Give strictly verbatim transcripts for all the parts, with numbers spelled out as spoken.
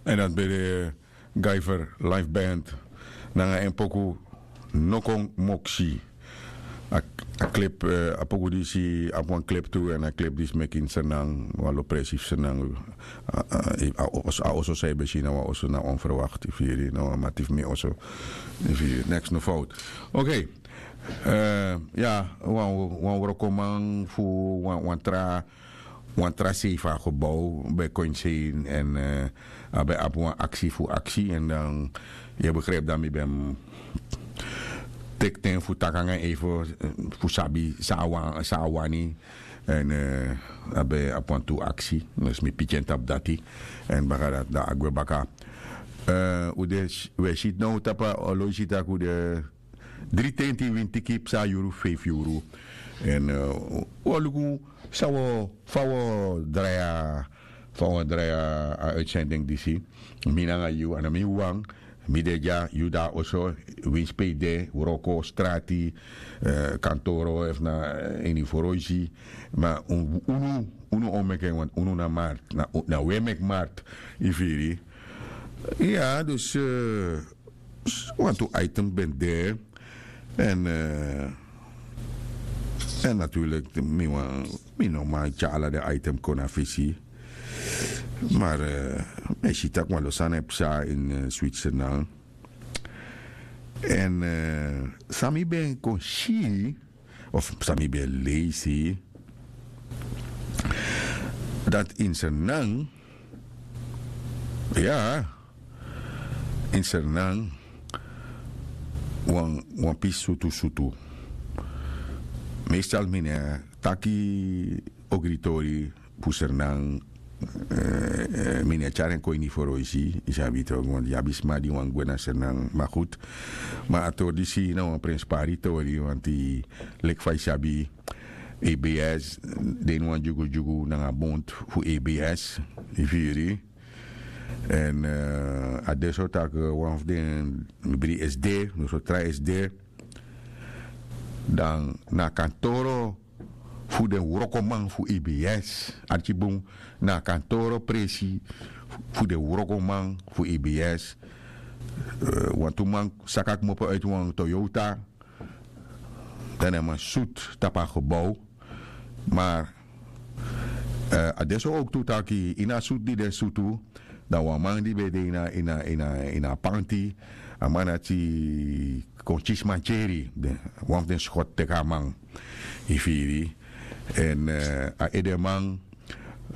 En dat ben de Guyver Live Band nanga en poku Nokon Moksi. A, a clip, eh, a poku disi abi wan clip tu, en a clip disi meki in Sernang, wan lopresi fu Sernang. A, a, a, a oso san yu ben si na wan oso na onverwacht, yu firi, na wan mati fu mi oso. Yu firi, neks no fout. Oké. Eh, ya, wan, wan wrokoman fu wan, wan tra wan tra sei fu a gebouw ben kon ini sei, en, eh, a ben abi wan aksi fu aksi, en dan yu e begrijp dan mi ben teki ten fu taki nanga en even, eh, fu sabi san a wan-, san a wani, en, eh, a ben abi wantu aksi, dus mi piki en tapu dati, en baka dati dan a gwe baka. Eh, un de, un e si now tapu a oloisi tak' un de dri tenti, winti ki psa yuru, feifi yuru. En, eh, un o luku san un o, fa un o drai a, fa un o drai a, a uitzending disi. Mi nanga yu, a no mi wan, mi de dya, yu de na oso, winsi pe yu de, wroko, strati, eh, kantoro, efu na, eh, ini foroisi. Ma un-, unu, unu o meki en, want unu na markt, na, na un e meki markt, yu firi. Ya, dus, eh, s-, wantu item ben de. En, eh, en natuurlijk, mi wan, mi no man tyari ala den item kon na fesi. Maar, eh, mi e si tak' wan lo sani e psa in, eh, Switzerland. En, eh, san mi ben kon si, of san mi ben leisi, dat in Sernang, ya, in Sernang, wan, wan pisi sutu sutu. Meestal mi no e taki ogritori fu Sernang, eh, eh, mi no e tyari en kon ini foroisi, yu sabi toch, want yu abi sma di wani gwe na Sernang, maar goed. Ma a tori disi na wan prenspari tori, want leki fa yu sabi, E B S, den wan dyugudyugu nanga bond fu E B S, yu firi. En, eh, a de so tak', eh, wan fu den, mi bri S D, no so tra S D. Dan na kantoro fu den wrokoman fu E B S. Arki bun, na kantoro presi fu den wrokoman fu E B S. Eh, wantu man saka kmopo uit wan Toyota. Dan den man sutu tapu a gebouw. Maar, eh, a de so ook tu taki, ini a sutu di den sutu, dan wan man di ben de ini a, ini a, ini a, ini a panti, a man dati kon kisi mankeri, den, wan fu den skot teki a man, yu firi. En, eh, a edeman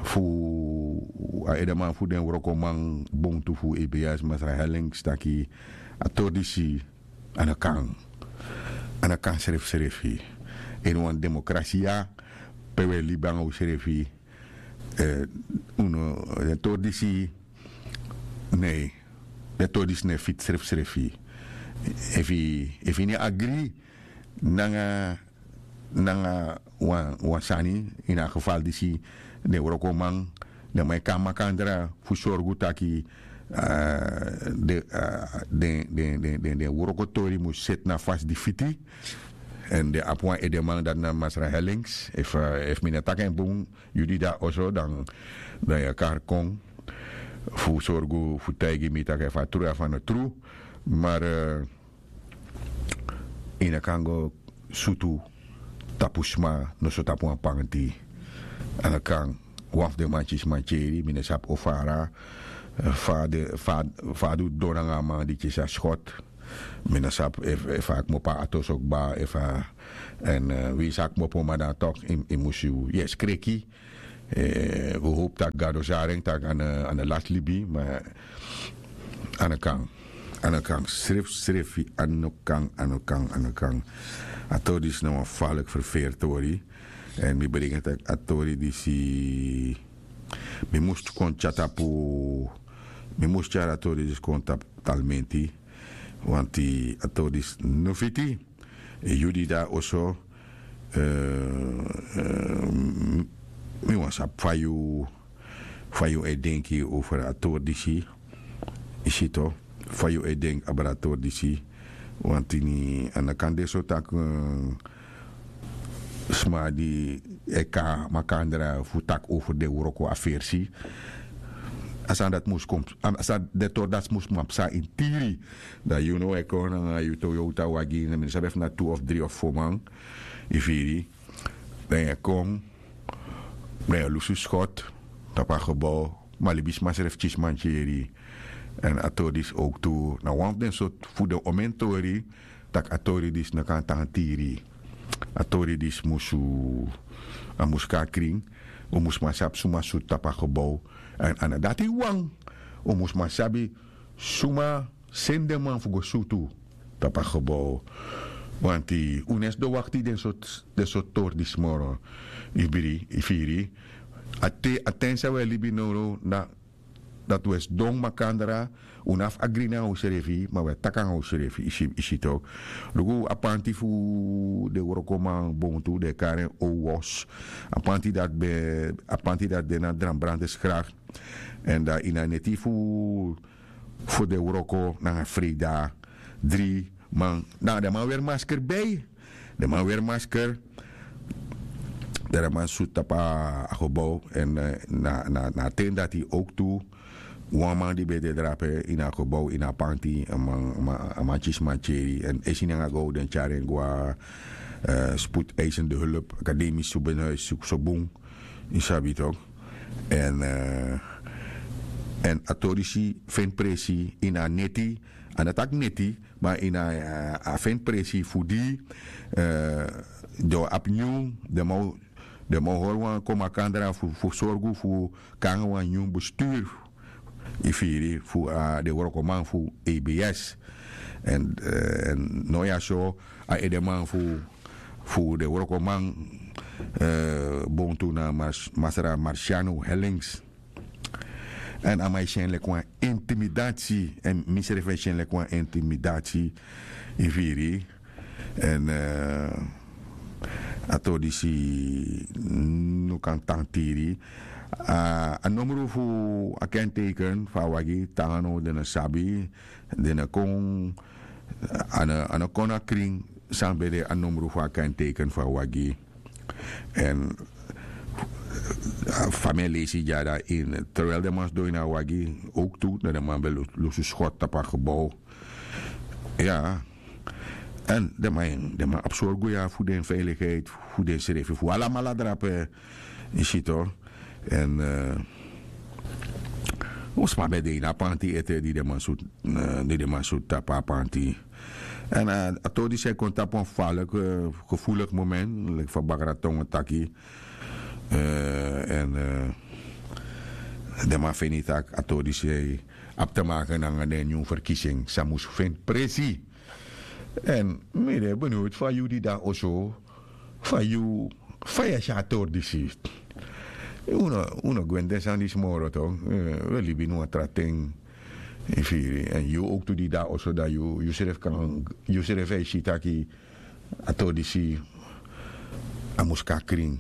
fu, a edeman fu den wrokoman bontu fu E B S, Masra Hellings, taki a tori disi a no kan. A no kan srefsrefi. Ini wan demokrasi ya, pe un e libi nanga unsrefi, eh, unu, den tori disi, nee, den tori disi no e fiti srefsrefi. Efu yu, efu yu no e agri nanga, nanga wan, wan sani, ini a geval disi, den wrokoman, den man e kon na makandra fu sorgu taki, ah, den, ah, den, den, den, den, den wrokotori mus seti na fasi di fiti. En den abi wan edeman, dati na Masra Hellings. Efu, eh, efu mi no taki en bun, yu di de na oso, dan, dan yu e kari kon fu sorgu fu taigi mi taki efu a tru efu a no tru. Maar, eh, yu no kan go sutu tapu sma noso tapu wan panti. A no kan. Wan fu den man kisi mankeri, mi no sabi o fara, eh, fa den, fa, fa a du don nanga a man di kisi a skot. Mi no sabi efu, efu a kmopo a ati oso kba, efu a, en, eh, winsi a kmopo, ma dan toch yu, yu mus, yu e skreki. Eh, wi hopu tak' Gado sari en tak' a no, a no lasi libi, ma a no kan. A no kan srefsrefi, a no kan, a no kan, a no kan. A tori disi na wan faliki ferferi tori. En mi bringi en tak' a tori disi, mi mus kon tyari tapu, mi mus tyari a tori disi kon tapu talmenti. Want a tori disi no fiti. Yu di de na oso, eh, eh, m-, mi wani sabi fa yu, fa yu e denki over a tori disi. Yu si toch, fa yu e denki abra a tori disi. Want ini, a no kan de so tak', eh, sma di e kon na makandra fu taki over den wroko a versi. a sani dati mus kon a sani den tori dati mus man psa ini tiri. Dan yu no e kon nanga yu toyota wagi, mi no sabi efu na tu of dri of fo man, yu firi. Dan yu e kon, dan yu e lusu skot tapu a gebou. Ma libisma srefi kisi mantyeri. Èn a tori disi owktu na wan fu den sortu fu den omen tori, tak' a tori disi no kan tan tiri. A tori disi musu a mus kon na krin. Un mus man sabi suma sutu tapu a gebou. Èn a no dati wawan, un mus man sabi suma seni den man fu go sutu tapu a gebou. Wanti un no e sidon wakti den sortu tori disi moro. Yu biri yu firi. A ten san un e libi nownow na dati un e sidon makandra. Un no abi fu agri nanga unsrefi ma un e taki nanga unsrefi, yu si tok'. Luku a panti fu den wrokoman bontu den e kari en owos. A panti dati ben a panti dati de na dranbrande skrak. Èn dan ini a neti fu fu den wroko nanga freida dri man nanga den man weri masker bei. Den man weri masker. Dan den man sutu tapu a gebou èn na a ten dati owktu wan man di ben de drape ini a gebou ini a panti a man kisi mantyeri èn esi nanga go den tyari en go na spoedeisende hulp akademisch subenhuis suku so bun. Yu sabi tok'. Èn a tori disi feni presi ini a neti. A no taki neti ma ini a feni presi fu di den o abi nyun den man o hori wan kon makandra fu sorgu fu kon nanga wan nyun besturu. Yu firi fu den wrokoman fu abs. Èn no ya so a edeman fu fu den wrokoman bontu na masra marciano hellings. Èn a man e si en leki wan intimidatie èn misrefi e si en leki wan intimidatie. Yu firi. Èn a tori disi no kan tan tiri. A nomru fu a kenteken fu a wagi tanga no den no sabi. Den no kon a no kon na krin san ben de a nomru fu a kenteken fu a wagi. Èn fa mi e leisi dya dan ini terwijl den man sidon ini a wagi owktu dan den man ben lusu skot tapu a gebou. Ya. Èn den man abi sorgu ya fu den veiligheid fu densrefi fu alamala drape. Yu si to. Èn un sma ben de ini a panti ete di den man sutu di den man sutu tapu a panti. Èn a tori disi e kon tapu wan faliki gevoeliki moment leki fa bakra tongo taki. Èn den man feni tak' a tori disi abi te maken nanga den nyun ferkising san mus feni presi. Èn mi de beniwdi fa yu di de na oso fa yu fa yu e si a tori disi. Un no gwe ini den sani disi moro to un e libi ini wan tra ten. Yu firi èn yu owktu di de na oso dan yu srefi kan yu srefi e si taki a tori disi a mus kon na krin.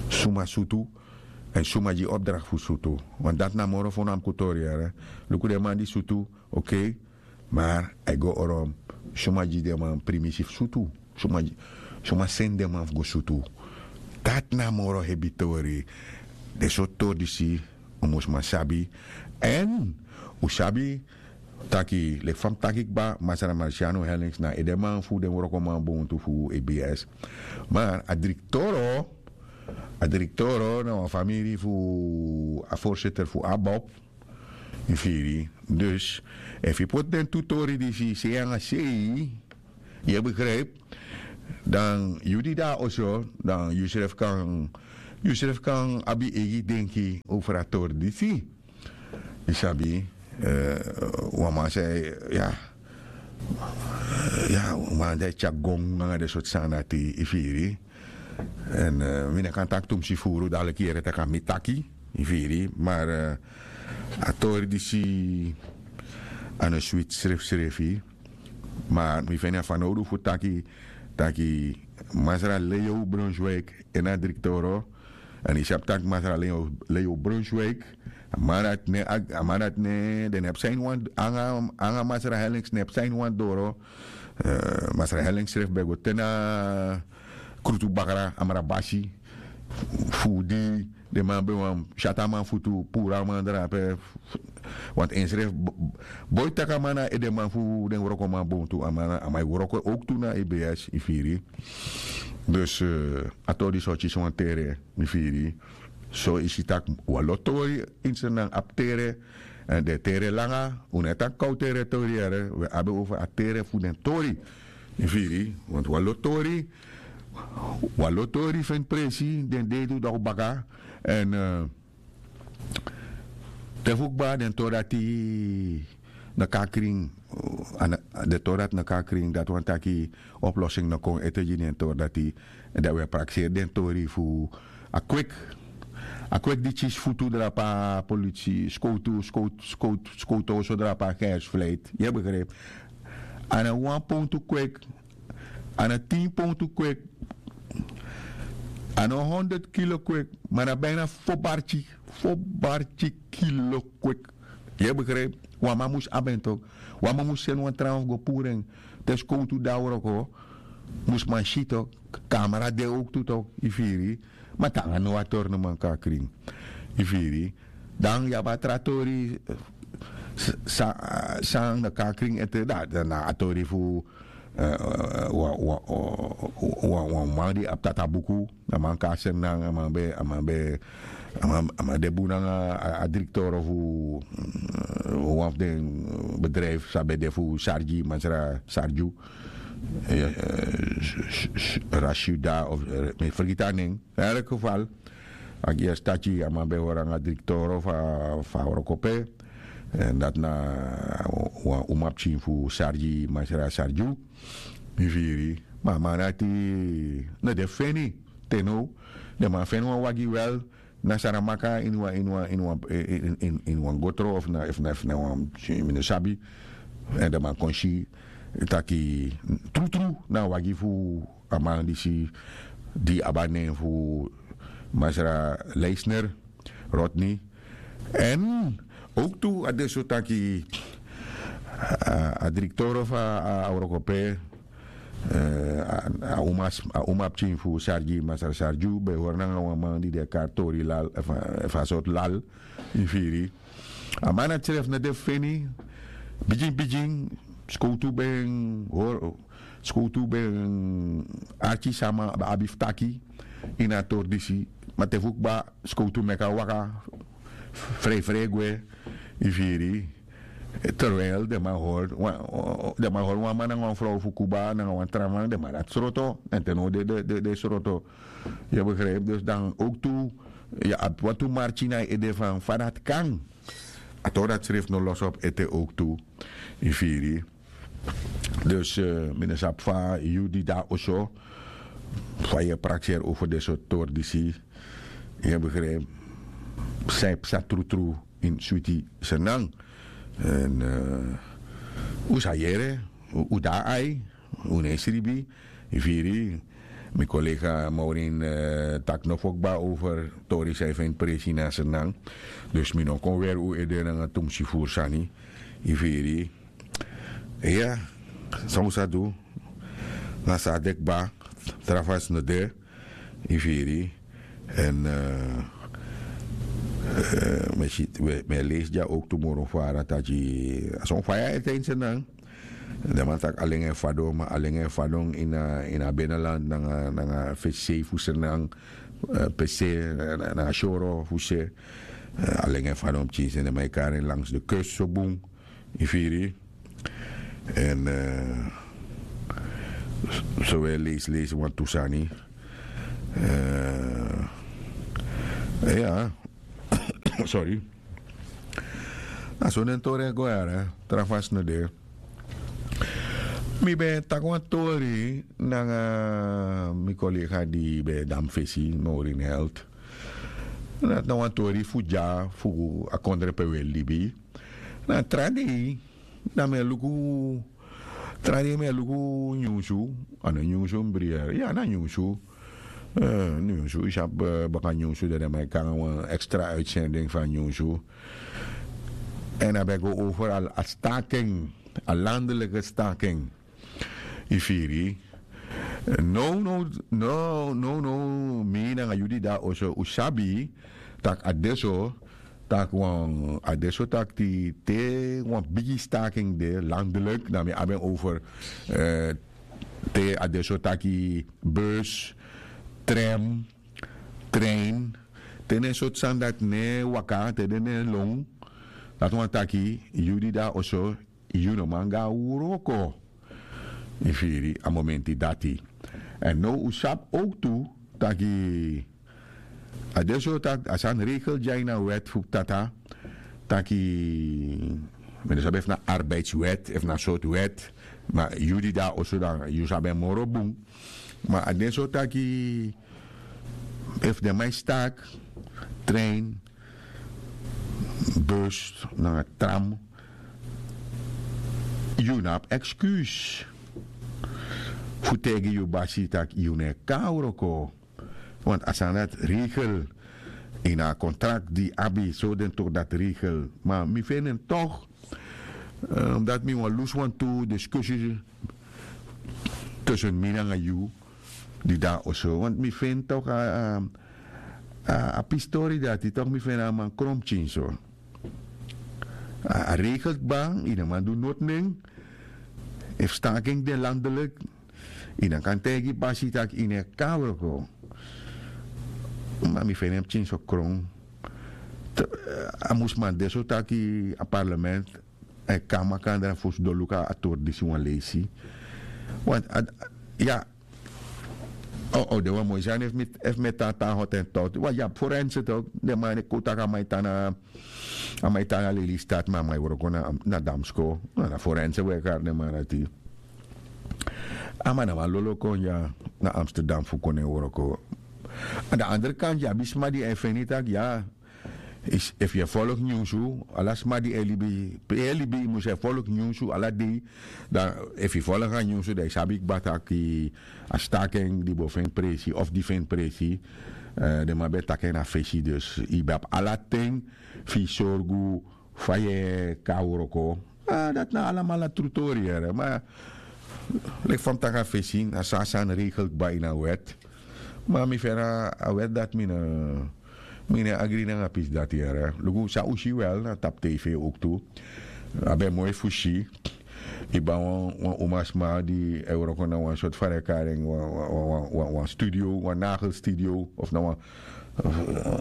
Suma sutu èn suma gi yu opdrakti fu sutu. Want dati na moro fo na muku tori yere. Luku den man di sutu. Okei. Mar a e go orom suma gi den man primisi fu sutu. Suma seni den man fu go sutu. Dati na moro hebi tori. Den sortu tori disi un mus man sabi. Èn un sabi taki leki fa mi taki kba masra marciano hellings na edeman fu den wrokoman bontu fu abs. Mar a driktoro a driktoro na wan famiri fu a voorzitter fu abob. Yu firi. Dus efu yu poti den tu tori disi sei nanga sei yu e begrijpi. Dan yu di de na oso dan yu srefi kan yu srefi kan abi yu eigi denki over a tori disi. Yu sabi wan man sei ya ya wan man di e tyari gon nanga den sortu sani dati yu firi. Èn mi no kan taki tumsi furu daliki yere tak' a mi taki. Yu firi mar a tori disi a no switi srefsrefi. Mar mi feni a fanowdu fu taki taki masra leo brunswik en a driktoro. Èn yu sabi tak' masra leo brunswik a man dati ne den no abi saini wan anga masra hellings no abi saini wan doro. Masra hellings srefi ben go te na krutu bakra amra basi. fu di den man ben wani syati a man futu, puru a man drape. Want ensrefi boi taki a man na edeman fu den wrokoman bontu, a man e wroko owktu na ebs, yu firi. Dus a tori disi o kisi wan tere, yu firi. So yu si tak' wan lo tori ini srnan abi tere. Èn den tere langa, un no e taki kow tere tori yere, un e abi over a tere fu den tori. Yu firi. Want wan lo tori wan lo tori feni presi den dei du dok baka. Èn te fu kba den tori dati na kon na krin. Den tori dati na kon na krin dati wani taki oplossing no kon ete gi den tori dati. Dan wi e prakseri den tori fu a kweki a kweki di kisi futu drape a polisi skowtu skowtu skowtu oso drape a gersfleit yu e begripi. A na wan pontu kweki. A na tin pontu kweki. A no honderd kilo kweki ma na bina fo barki fo barki kilo kweki. Yu e begripi. Wan man mus abi en toki. Wan man mus seni wan trawan fu go puru en te skowtu de a wroko. Mus man si toki. Kamera de owktu toki yu firi. Ma te nanga no wan tori no man kon na krin. Yu firi. Dan yu abi a tra tori san na kon na krin ete dan na a tori fu wan wan wan wan man di abi tata buku. A man kon na seni nanga a man ben a man ben a man de bun nanga a direktoro fu wan fu den bedrijfu san ben de fu sargi masra sargiu. Rasuda of mi fergiti a nen. Elk geval a gi esi taki a man ben hori nanga direktoro fu a wroko pe. Èn dati na wan umapikin fu sargi masra sargiu. Mi firi. Ma a man dati no de feni te now. Den man feni wan wagi wel na saramaka ini wan ini wan ini wan ini wan gotro of na efu na efu na wan mi no sabi. Èn den man kon si taki trutru na a wagi fu a man disi di abi a nen fu masra leisner rodney. Èn owktu a de so taki a direktoro fu a wroko pe a uma a uma pikin fu sargi masra sargiu ben hori nanga wan man di de kari tori lal efu a sortu lal. Yu firi. A man dati srefi no de fu feni. Bigin bigin skowtu ben hori skowtu ben arki san a man abi fu taki ini a tori disi. Ma te fu kba skowtu meki a waka frei frei gwe. Yu firi. Terwijl den man hori den man hori wan man nanga wan frow fu kuba nanga wan tra man den man dati sroto èn te now den sroto. Yu e begripi dus dan owktu yu abi wantu marki na yu ede fan fa dati kan. A tori dati srefi no losi opu ete owktu. Yu firi. Dus mi no sabi fa yu di de na oso fa yu e prakseri over den sortu tori disi. Yu e begripi. San yu psa trutru ini switi senan. Èn un sa yere un de na ai. Un no e sribi. Yu firi. Mi kolega maurin taki no fu kba over tori san yu feni presi na senan. Dus mi no kon weri un ede nanga tumsi furu sani. Yu firi. Iya. San un sa du na san a de kba. Tra fasi no de. Yu firi. Èn mi e leisi dya owktu moro fara taki a son faya ete ini senan. Den man taki alenga e fadon ma alenga e fadon ini a beneland nanga fesi sei fu senan. Pese nanga syoro fu se. Alenga e fadon pikin seni den man e kari en langs de kust so bun. Yu firi. Èn so wi e leisi leisi wantu sani. Iya. Sori. Na so den tori e go yara. Tra fasi no de. Mi ben taki wan tori nanga mi kolega di ben e dan mi fesi maurin health. Na wan tori fu dya fu a kondre pe wi e libi. Na tra dei dan mi e luku tra dei mi e luku nyunsu. A no nyunsu mi brier ya na nyunsu. Nyunsu yu sabi baka nyunsu dan den man e kon nanga wan extra uitsending fu a nyunsu. Èn a ben go over a staking a landelijke staking. Yu firi. Now now now now now mi nanga yu di de na oso un sabi tak' a de so, tak' wan a de so tak' te wan bigi staking de landelijk dan mi abi en over te a de so taki bus, tram, trein, te na en sortu sani dati no e waka te den no e lon. Dati wani taki yu di de na oso yu no man go na wroko. Yu firi a momenti dati. Èn now un sabi owktu taki a de so tak' a sani regel dya ini a wèt fu tata taki mi no sabi efu na arbeidswèt efu na sortu wèt. Ma yu di de na oso dan yu sabi en moro bun. Ma a de so taki efu den man e staki trein, bus nanga tram, yu no abi ekskuus fu taigi yu basi tak' yu no e kon na wroko. Want a sani dati regel ini a kontrakt di yu abi so den tori dati regel. Ma mi feni en tok' dati mi wani lusu wantu diskusi tusun mi nanga yu di de na oso want mi feni tok' a pistori dati tok' mi feni a man kron pikin so. A regel kba yu no man du noti nen. Efu staking de landelijk yu no kan taigi basi tak' yu no e kon na wroko. Ma mi feni en pikin so kron. A mus man de so taki a parlement e kon na makandra fu sidon luku a tori disi wan leisi. Want ya o de wan moi sani efu mi e tan tan hotentot wan ya forense tok' den man e kon taki a man e tan na a man e tan na lelystad ma a man e wroko na damsko na forense we kari den man dati. A man na wan lolo kon ya na amsterdam fu kon na en wroko. An de andere kant ya abi sma di e feni tak' ya efu yu e folok nyunsu ala sma di e libi pe yu e libi yu mus e folok nyunsu ala dei. Dan efu yu folok a nyunsu dan yu sabi kba taki a staking di bo feni presi of di feni presi den man ben taki en na fesi dus yu ben abi ala ten fu yu sorgu fa yu e kon na wroko. Dati na alamala tru tori yere ma leki fa mi taki na fesi na so a sani regel kba ini a wèt. Ma mi feni a wèt dati mi no e agri nanga pisi dati yere luku san un si wel na tapu tv owktu. A ben moi fu si yu ben abi wan umasma di e wroko na wan sortu fa den e kari en wan studio wan nagelstudio of na wan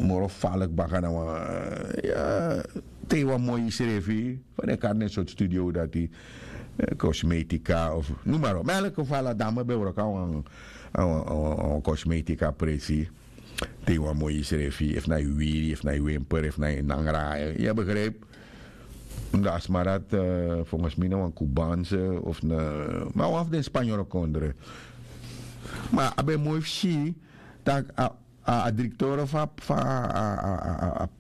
moro falik baka na wan te yu wan moi srefi fa den e kari den sortu studio dati. Kosmetika of numaro ma elke fala dame ben wroko na wan kosmetika presi. Te yu wan moi srefi efu na yu wiri efu na yu wimper efu na yu nangra yu e begripi. Dan a sma dati fonges mi na wan kubanse of na ma wan fu den spanyoro kondre. Ma a ben moi fu si tak' a a direktoro fu a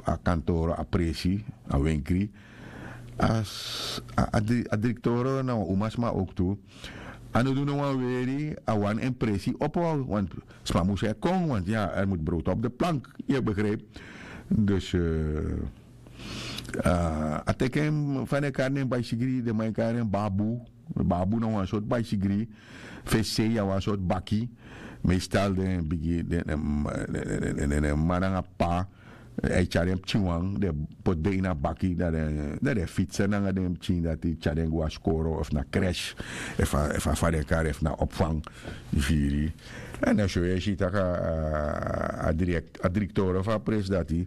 a kantoro a presi a wenkri a direktoro na wan umasma owktu. A no du no wan weri a wani en presi opo want sma mus e kon want ya er mus brood op de plank. Yu e begripi. Dus a teki en fa den e kari den baisigri den man e kari den babu. Babu na wan sortu baisigri fesi sei ya wan sortu baki. Meestal den bigi den man nanga p'pa e tyari den pikinwan den poti den ini a baki dan den fitse nanga den pikin dati tyari den go na skoro efu na kresh efu a fa den kari efu na opfang. Yu firi. Èn na so yu e si tak' a direktoro fu a presi dati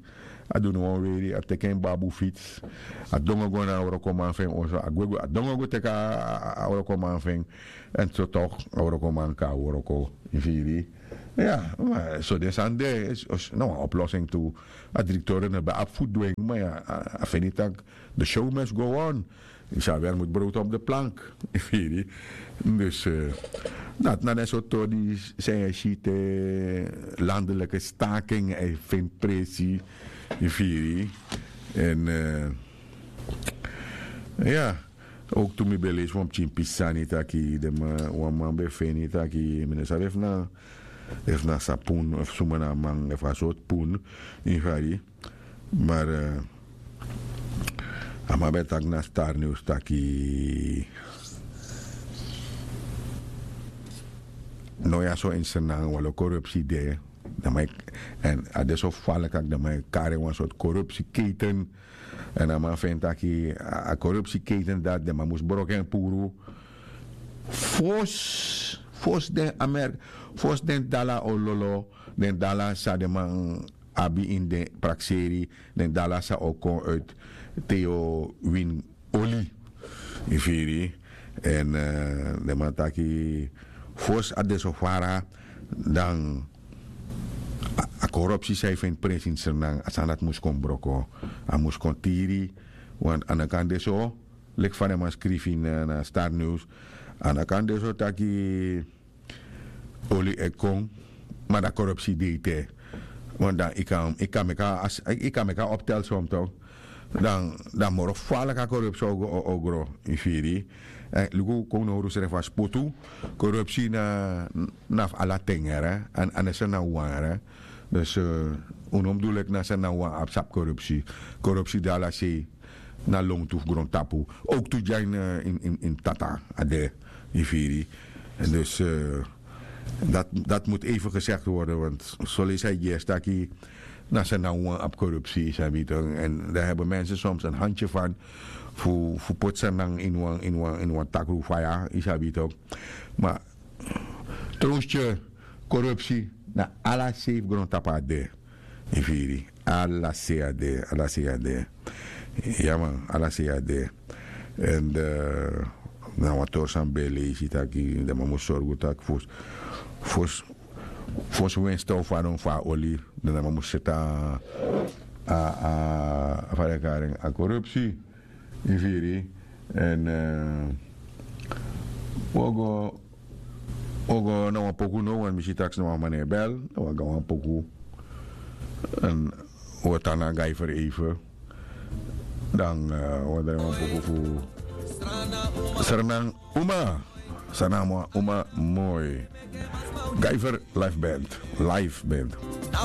a du no wan weri a teki en babu fits a dongo go na a wrokoman fu en oso a gwe go a dongo go teki a wrokoman fu en. Èn so tok' a wrokoman kon na wroko. Yu firi. Ya ma so den sani de na wan oplosing tu. A direktoro no ben abi fu du en ma ya a feni tak' de show must go on. Yu sabi a mus brood op de plank. Yu firi. Dus dati na den sortu tori san yu e si te landelijke staking e feni presi. Yu firi. Èn ya owktu mi ben leisi wan pikin pisi sani taki den man wan man ben feni taki mi no sabi efu na efu na sapun efu suma na a man efu a sortu pun. Yu fari. Mari a man ben taki na star news taki no ya so ini sernang walo korupsi de. Dan man e, èn a de so falik tak' dan man e kari wan sortu korupsi keiten. Èn a man feni taki a korupsi keiten dati den man mus broko en puru fosi fosi den amer fosi den dala o lolo, den dala san den man abi ini den prakseri, den dala san o kon uiti te yu o wini oli. Yu firi? Èn den man taki fosi a de so fara, dan a korupsi san yu feni prensi ini sernang a sani dati mus kon broko. A mus kon tiri. Want a no kan de so leki fa den man skrifi na star news. A no kan de so taki oli e kon, ma dan korupsi de ete. Want dan yu kan yu kan meki a optel som tok. Dan dan moro faliki a korupsi o gro. Yu firi? Luku kon nowru srefi a spotu. Korupsi na na fu ala ten yere. Èn a no sernang wan yere. Dus un no mus du leki na sernang wan abi sabi korupsi. Korupsi de ala sei. Na longtu fu grontapu. Owk tu dya ini tata a de. Yu firi? Dus dati mus even gesegdi worden want soleisi a e gi esi taki na sernang wan abi korupsi yu sabi yu tok. Èn dan hebi mensen soms en handye fan fu poti sernang ini wan takru faya yu sabi yu tok. Ma trowens tye korupsi na ala sei fu grontapu a de. Yu firi? Ala sei a de ala sei a de. Ya man ala sei a de. Èn na wan tori san ben e leisi taki den man mus sorgu tak' fosi fosi winsten o fadon fu a oli. Dan den man mus seti a fa den e kari en a korupsi. Yu firi? Èn un o go un o go na wan poku no wan mi si taki na wan man e bel na wan gan wan poku. Èn un o tan na gaifer eife. Dan un o drai wan poku fu sernan uma. Sernan uma moi. Gaifer life band. Life band.